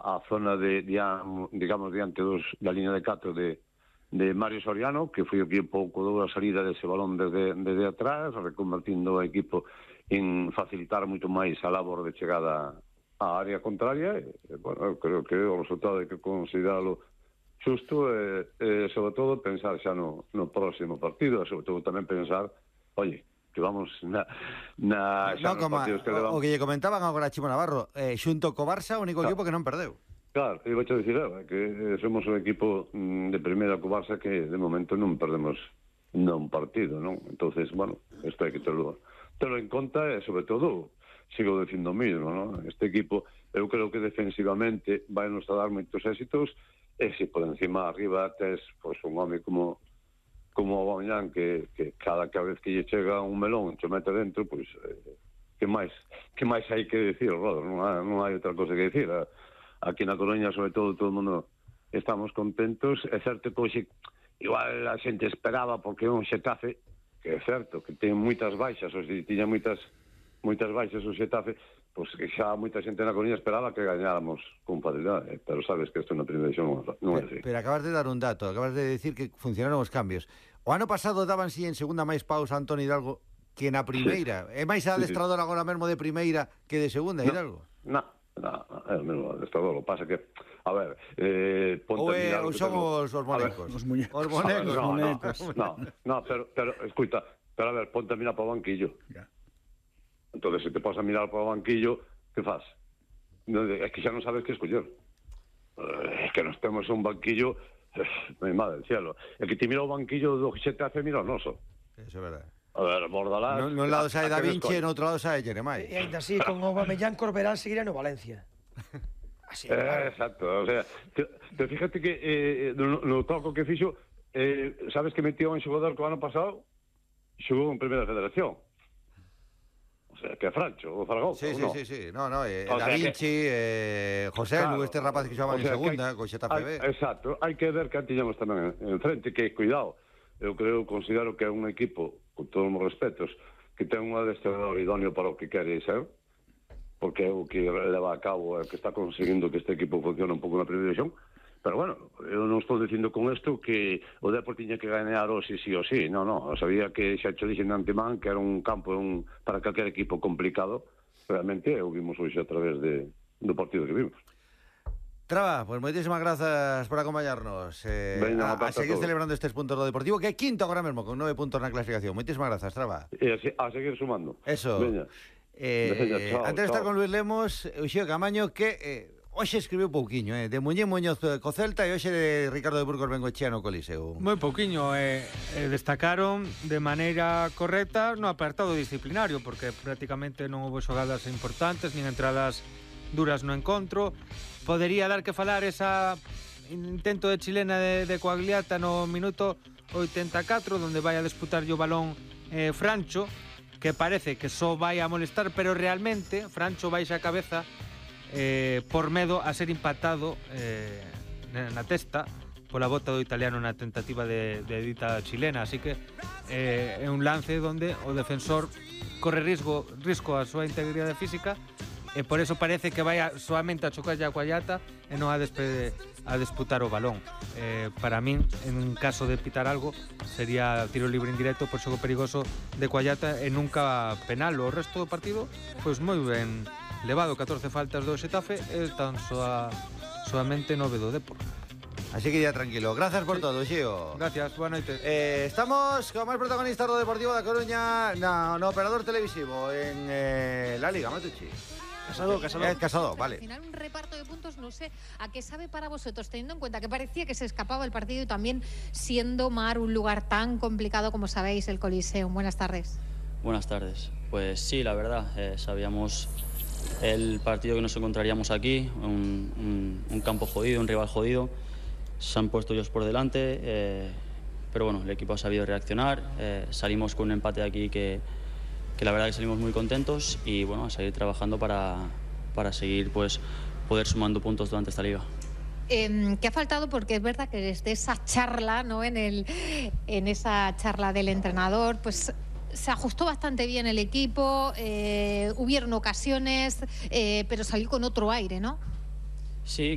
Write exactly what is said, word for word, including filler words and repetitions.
a zona de, digamos, diante dos, da línea de catro de, de Mario Soriano, que foi o que pouco dou a salida dese balón desde, desde atrás, reconvertindo o equipo en facilitar moito máis a labor de chegada á área contraria. E, bueno, creo que o resultado é que consideralo xusto e, e sobre todo, pensar xa no, no próximo partido, e sobre todo tamén pensar, oye, que vamos na, na xa no, nos partidos que levamos. O que lle comentaban agora a Chimo Navarro, eh, xunto co Barça, o único claro. equipo que non perdeu. Claro, eu vou a dicir, eh, que somos un equipo de primeira co Barça que de momento non perdemos non partido, non? Entonces, bueno, isto hai que terlo, terlo en conta e, sobre todo, sigo dicindo o mismo, non? Este equipo, eu creo que defensivamente vai nos a dar moitos éxitos. E se por encima arriba tes pues, un home como como o Aubameyang que, que cada vez que lle chega un melón che mete dentro, pois pues, eh, que máis que máis hai que dicir, Rodo? Non hai, non hai outra cosa que dicir. Aquí na Coruña, sobre todo, todo o mundo estamos contentos. É certo que hoxe igual a xente esperaba porque é un Xetafe, que é certo que ten moitas baixas, ou se tiña moitas moitas baixas o Xetafe, pois que xa moita xente na Coruña esperaba que gañáramos con facilidade, pero sabes que isto na primeira edición non é así. Pero acabas de dar un dato, acabas de decir que funcionaron os cambios. O ano pasado daban si en segunda máis pausa Antón Hidalgo que na primeira. Sí. É máis adestrador sí, sí. agora mesmo de primeira que de segunda, no, Hidalgo? Non, non, é o mesmo adestrador. O pasa que, a ver, eh, ponte ou, é, ou son os, os monecos. Os muñecos. Os monecos. No, no, no, no, pero, pero, escuita, pero a ver, ponte a mirar para o banquillo. Ya. Entonces, se te pasas a mirar para o banquillo, que faz? É que xa non sabes que escoller. É que nos temos un banquillo, mi madre del cielo. É que te mira o banquillo do Xetafe, mira o noso. Eso é verdade. A ver, Bordalás... No, no lado sae Da Vinci e no outro lado sae Jeremai. E ainda así, con Aubameyang, Corberán seguirá no Valencia. Así, eh, claro. Exacto, o sea, te, te fíjate que eh, no, no toco que fixo, eh, sabes que metió un xogador que o ano pasado xogou en Primeira Federación. O sea, que é Francho, o Zaragoza, sí, sí, no? sí, sí, no, no, eh, Da Vinci, que... eh, José claro, Lu, este rapaz que xogaban o sea, en segunda, co Xetafe B. Exacto, hai que ver que tiñamos tamén en frente, que, cuidado, eu creo, considero que é un equipo, con todos os respetos, que ten un adestrador idóneo para o que quere ser, porque é o que leva a cabo, é o que está conseguindo que este equipo funcione un pouco na primeira división. Pero bueno, eu non estou dicindo con isto que o Depor tiña que gañar hoxe sí ou sí, non, non, sabía que xa cho dixen de antemán que era un campo un, para calquer equipo complicado, realmente o vimos hoxe a través de, do partido que vimos. Traba, pues moitísimas grazas por acompañarnos eh, Venga, a, a seguir a celebrando estes puntos do Deportivo, que é quinto agora mesmo, con nove puntos na clasificación. Moitísimas grazas, Traba. E a, a seguir sumando. Eso. Veña. Eh, Veña, chao, antes de estar con Luis Lemos, Uxío Camaño, que... Eh, hoxe escribiu pouquiño, eh? De Muñiz Muñoz co Celta e hoxe de Ricardo de Burgos Bengoechea no Coliseo. Moi pouquiño, eh, eh, destacaron de maneira correcta no apartado disciplinario, porque prácticamente non houve xogadas importantes, nin entradas duras no encontro. Podería dar que falar esa intento de chilena de, de Coagliata no minuto oitenta e catro, donde vai a disputar o balón eh, Francho, que parece que só vai a molestar, pero realmente Francho vai xa a cabeza Eh, por medo a ser impactado eh, na testa pola bota do italiano na tentativa de, de dita chilena, así que eh, é un lance onde o defensor corre risco, risco a súa integridade física e por eso parece que vai a, soamente a chocar a Coagliata e non a, despe, a disputar o balón. Eh, para min, en caso de pitar algo, sería tiro libre indirecto por xogo perigoso de Coagliata e nunca penal. O resto do partido, pois moi ben levado, catorce faltas do Xetafe e tan soa, soamente nove do Depor. Así que ya tranquilo. Gracias por sí. todo, Xío. Gracias, boa noite. Eh, estamos con máis protagonistas do Deportivo da Coruña no, no operador televisivo en eh, la Liga, Matucci. Casado, Casado. Eh, casado, vale. Al final un reparto de puntos, no sé a qué sabe para vosotros, teniendo en cuenta que parecía que se escapaba el partido y también siendo Mar un lugar tan complicado como sabéis, el Coliseo. Buenas tardes. Buenas tardes. Pues sí, la verdad, eh, sabíamos el partido que nos encontraríamos aquí, un, un, un campo jodido, un rival jodido. Se han puesto ellos por delante, eh, pero bueno, el equipo ha sabido reaccionar. Eh, salimos con un empate aquí que, que la verdad que salimos muy contentos y bueno, a seguir trabajando para, para seguir pues poder sumando puntos durante esta liga. Eh, ¿Qué ha faltado? Porque es verdad que desde esa charla, ¿no? En, el, en esa charla del entrenador, pues se ajustó bastante bien el equipo, eh, hubieron ocasiones, eh, pero salió con otro aire, ¿no? Sí.